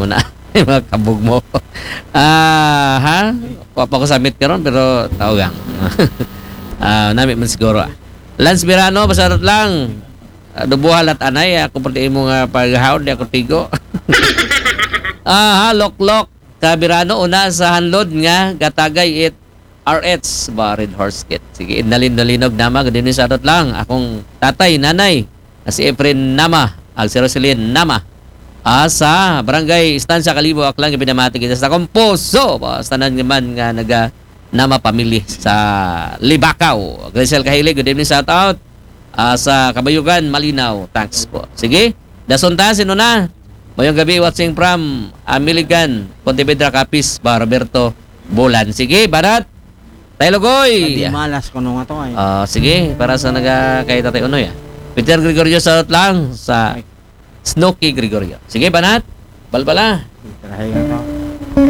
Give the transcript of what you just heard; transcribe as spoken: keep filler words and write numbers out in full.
Na, mga kabog mo. Ah, ha? Wa pa ko submit karon, pero tao gang. Ah, nami man siguro, ah. Lance Birano, pasarot lang. Ah, dubuha lat anay, ako pa di mo nga paghaon, di ako tigo. Ah, ha, loklok. Ka Birano, una sa hanlod nga gatagay it R H ba, Red Horse Kit. Sige, nalin-, nalinog nama, ganun sa atot lang. Akong tatay, nanay, na si Efren Nama, ag si Roselyn Nama. Ah, sa Barangay Estancia Kalibo, Aklan, pinamati kita sa akong puso. Ba, sa tanan naman nga naga Nama pamili sa Libakaw. Grisel Kahilig, good evening, shout out. Ah, sa Kabayugan, Malinaw. Thanks po. Sige, dason ta, sino na? Mayong gabi, watching from Amiligan, Pontevedra, Capiz, ba, Roberto Bulan. Sige, banat. Tayo, Lugoy. Di malas ko nung ato ay. Ah, sige, para sa naga kay Tatay Unoy, ah. Peter Gregorio, shout out lang sa Snooki Gregorio. Sige, banat. Balbala. Tirahay nga to.